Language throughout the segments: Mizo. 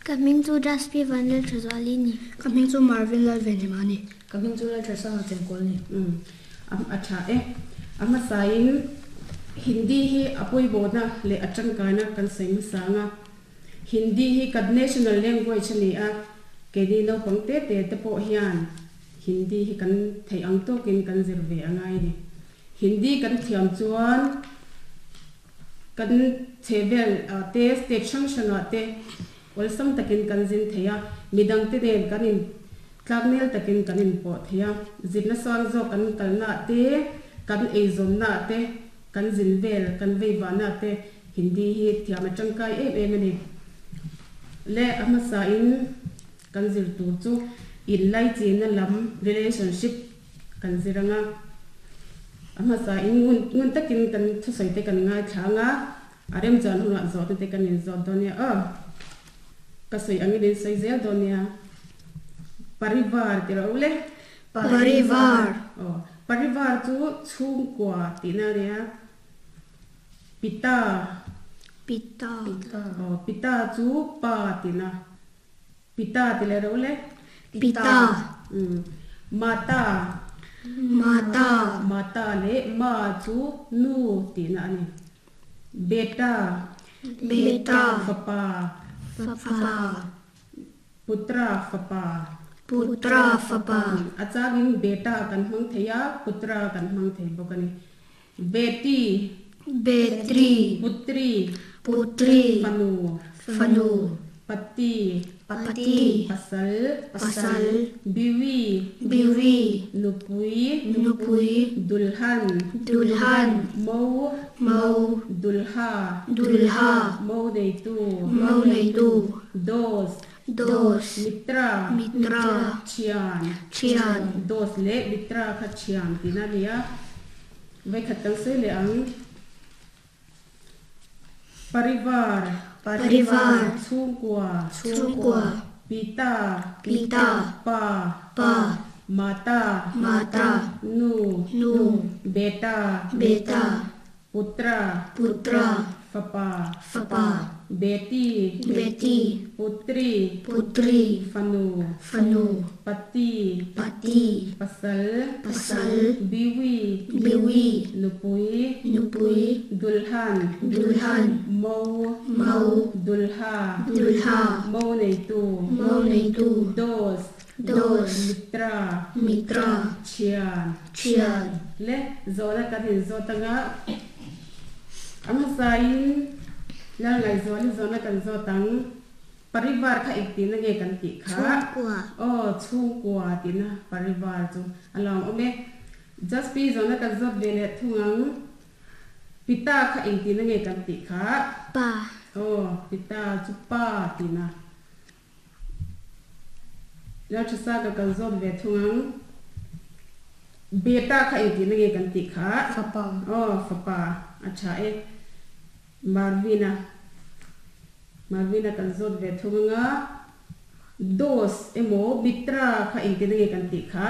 Ka hming chu Jaspi Vanlalthazuali ni. Ka hming chu Marvin Lalvenhima a ni. Ka hming chu Lalthasanga Chengkawl a ni. Umm a tha e. A hmasain Hindi hi a pawimawhna leh a tangkaina kan sawi hmasa ang a. Hindi hi kan national language a ni a, keini naupang te te te pawh hian Hindi hi kan theih ang tawkin kan zir ve a ngai a ni. Hindi kan thiam chuan kan chhehvel te state hrang hrangah te awlsam takin kan zin thei a, midangte nen kan in tlaknel takin kan inpawh thei a, zirna sang zawk kan kalnaah te, kan eizawnnaah te, kan zin vel, kan veivahnaah te Hindi hi thiam a tangkai em em a ni. Le a hmasain kan zir tur chu inlaichina lam relationship Kan zir ang a, a hmasain ngun ngun takin kan thusawi te kan ngaithla ang a, a remchan hunah zawhna te kan inzawt dawn nia aw. Ka sawi angin in sawi zel dawn nia. Parivar ti rawh u le. Parivar. Aw, parivar chu chhungkua tihna a nia. Pita. Pita. Aw, pita chu pa tihna. Pita ti leh rawh le. Pita. Mata. Mata. Mata leh ma chu nu tihna a ni. Beta. Beta. Fapa. Fapa. Putra fapa. Putra fapa. A changin beta kan hmang thei a, putra kan hmang thei bawk a ni. Beti. Betri. Putri. Putri. Fanu. Fanu. Pati. Pati. Pasal. Pasal. Biwi. Biwi. Nupui. Nupui. Dulhan. Dulhan. Mo. Mo. Dulha. Dulha. Mo neitu. Mo neitu. Dos. Dos. Mitra. Mitra. Thian. Thian. Dos leh mitra kha thian tihna a ni a. Vawikhat kan sawi leh ang. Parivar. Parivar. Chhungkua. Chhungkua. Pita. Pita. Pa. Pa. Mata. Mata. Nu. Nu. Beta. Beta. Putra. Putra. Fapa. Fapa. Beti. Beti. Putri. Putri. Fanu. Fanu. Pati. Pati. Pasal. Pasal. Biwi. Biwi. Nupui. Nupui. Dulhan. Dulhan. Mo. Mo. Dulha. Dulha. Mo neitu. Mo neitu. Dos. Dos. Mitra. Mitra. Thian. Thian. Le zawhna kan inzawt anga a hmasain Lalngaihzuali zawhna kan zawt ang. Parivar kha eng tihna nge kan tih kha? Chhungkua. Aw, chhungkua tihna parivar chu a lo awm e. Jaspi zawhna kan zawt ve leh thung ang. Pita kha eng tihna nge kan tih kha? Pa. Aw, pita chu pa tihna. Lalthasa ka kal zawt ve thung ang. Beta kha engtihna nge kan tih kha? Fapa. Aw, fapa. A tha e. Marvina. Marvina kan zawt ve thung ang a. Dos emaw Mitra kha engtihna nge kan tih kha?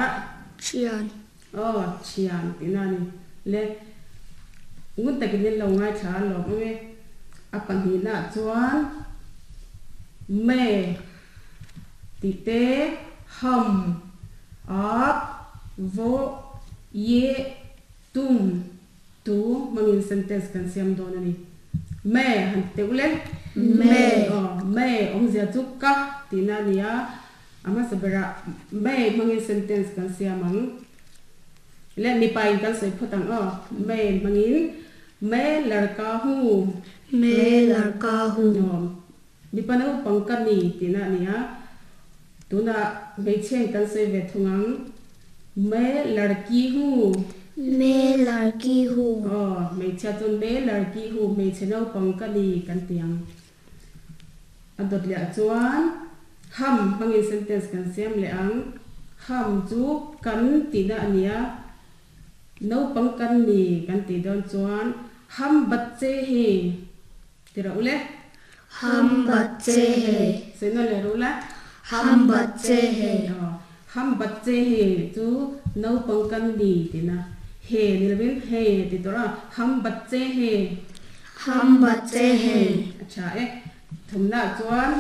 Thian. Aw, thian tihna a ni. Le, ngun takin in lo ngaithla a lawm ang e. A pahnihnaah chuan me tih te, ham, ap, vaw, ye, tum, tu hmangin sentence kan siam dawn a ni. Me han ti teh u le. Me. Aw, me awmzia chu ka tihna a ni a. A hmasa berah me hmangin sentence kan siam ang. Le mipa in kan sawi phawt ang aw. Me hmangin me larka hu. Me larka hu. Aw, mipa naupang ka ni tihna a ni a. Tunah hmeichhia in kan sawi ve thung ang. Me larki hu. Me larki hu. Aw, hmeichhia chuan me larki hu, hmeichhe naupang ka ni kan ti ang. A dawt leh ah chuan ham hmangin sentence kan siam leh ang. Ham chu kan tihna a ni a, naupang kan ni kan tih dawn chuan ham batche hi ti rawh u le. Ham batche he. Sawi nawn leh rawh u la. Ham batche he. Aw, ham batche he chu naupang kan ni tihna. He ni lovin he ti tawh a, ham batche he. Ham batche he. A tha e. Thumnaah chuan.